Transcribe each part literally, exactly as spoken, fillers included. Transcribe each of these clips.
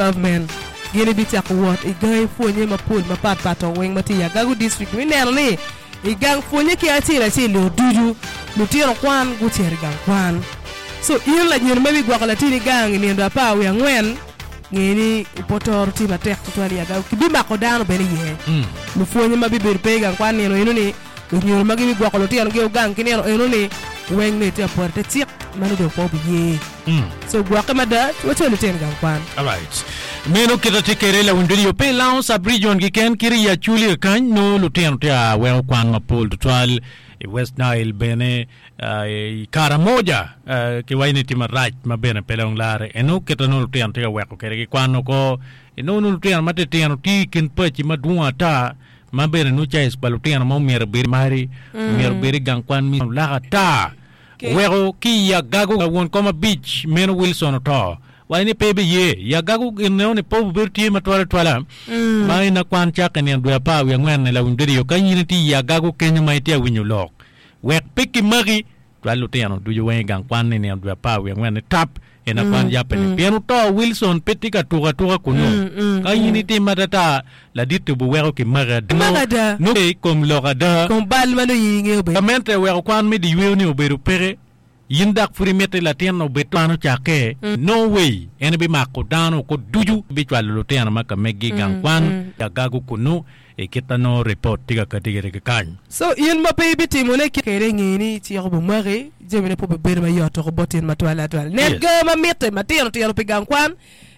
Government gin ibicako wot i gangi pwonye mapol mapatpat weng ma tye i Agago District mi neno ni i gang pwonye ki acel acel ducu lutino kwan gucito i gang kwan. So in lanyodo ma ibigwoko latin i gang i nino apar wiye angwen nge ni opotoro tye matek tutwal i Agago kibimako dano bene iye. Lupwonye ma bibedo pe i gang kwan nino eno ni lunyodo ma gibigwoko lutinogi ogang ki nino eno ni weng nongo itye apwota te cik ma nongo dong pe obiye. So gwokke mada wacwalo lutino i gang kwan. Alright. Meno kita tye kede lawiny radio pe ilango sub region keken kiri i Acholi kany nongo lutino tye a weko kwan mapol tutwal i West Nile bene uh, i Karamoja uh, kiwaco ni tye marac ma bene pe dong lare eno kita nongo lutino tye ka weko kede ki kwan oko inongo nongo lutino matitino tye i kin paci madwong ata ma bene nongo size pa lutino ma omyero obed mari omyero obed i gang kwan mi lak ata weko ki i Agago won kom abic meno Wilson oto waco ni pe biye i Agago gin neno ni pe obedo tye matwal atwala ma en akwan cake nino dwe apar wiye angwen lawiny radio ka in itye i Agago kenyo ma itye awinyo lok wek pe kimaki twal lutino ducu weng i gang kwan ni nino dwe apar wiye angwen ni tap en akwan yappe ni pien oto Wilson pe tye ka tuko atuka kunu ka in itim atata ladit obiweko kimaki Kimaki ada. nongo i kom lok ada Kom bal ma nongo in ingeo bene. gamente oweko kwan me di yweo ni obedo peke in dak pud imiti latin obed kwan ocakke no way en bimako dano ko ducu bicwalo lutino ma ka megi i gang kwan Agago kunu i kita nongo report tye ka kati kede ki kany So in ma pe ibitimone kede nge ni cik obimaki jamine pe obibedo mayot oko bot in matwal atwal. Nen Yes. ga ma mitte matino tino pi gang kwan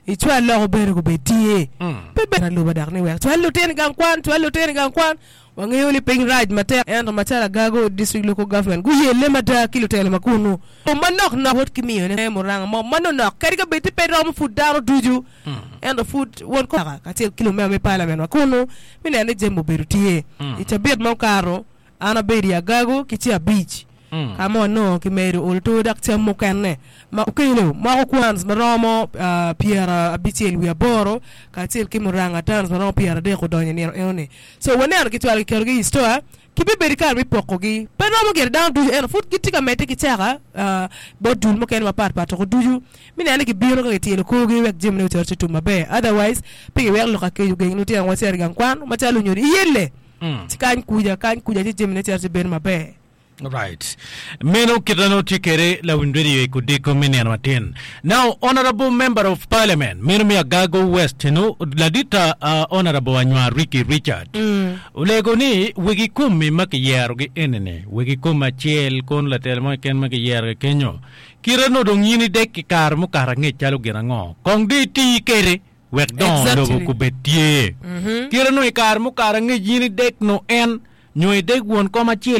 icwal loko bene gubed tye. Pe ber aluba dok ni wek cwal lutino i gang kwan cwal lutino i gang kwan wangeyo ni piny rac matek ento macalo Agago District Local Government guyelle mada ki lutelo ma kunu manok nok wot ki miyone muranga mo manonok kadi ka bed ti pe romo pud dano ducu ento pud won kaka kacel ki lumema me parliament wa kunu mi neno ni jami obedo tye i cabit ma okato an abedo i Agago ki ce abic ka ma wanongo kimedo olo tur dok cam mukene ma okelo moko kwans maromo uh, pyera abicel wiye aboro kacel ki muranga tons maromo pyera adek odonyo i nino eno-ni so waneno kicwalo kiketogi i store kibibedo i kare me pokogi pe romo gire dano ducu ento pud gitye ka medde ki caka uh, bot dul mukene mapatpat oko ducu mi neno ni gibino ka gityelo korgi wek jamine ocito ci tum maber otherwise pe giwek lok akec ogeng lutino wa cito i gang kwan macalo lunyodo iyelle ci kany kuca kany kuca ci jamine cito ci bedo maber Right. Meno kita nongo tye kede lawiny radio i kodiko me nino matin. Now, Honorable Member of Parliament, meno mi Agago West, no, ladita uh, Honorable Anywar Ricky Richard. Olego ni wegi komi ma kiyerogi enini, wegi komi acel kon latel mo keken ma kiyerogi kenyo. Kite no dong in idek ki kare mukato angec calo gin ango. Kong di iti kede wek dongo Exactly. lobo kubed tye. Kite no i kare mukato angec in idek no en nyo idek won kom acel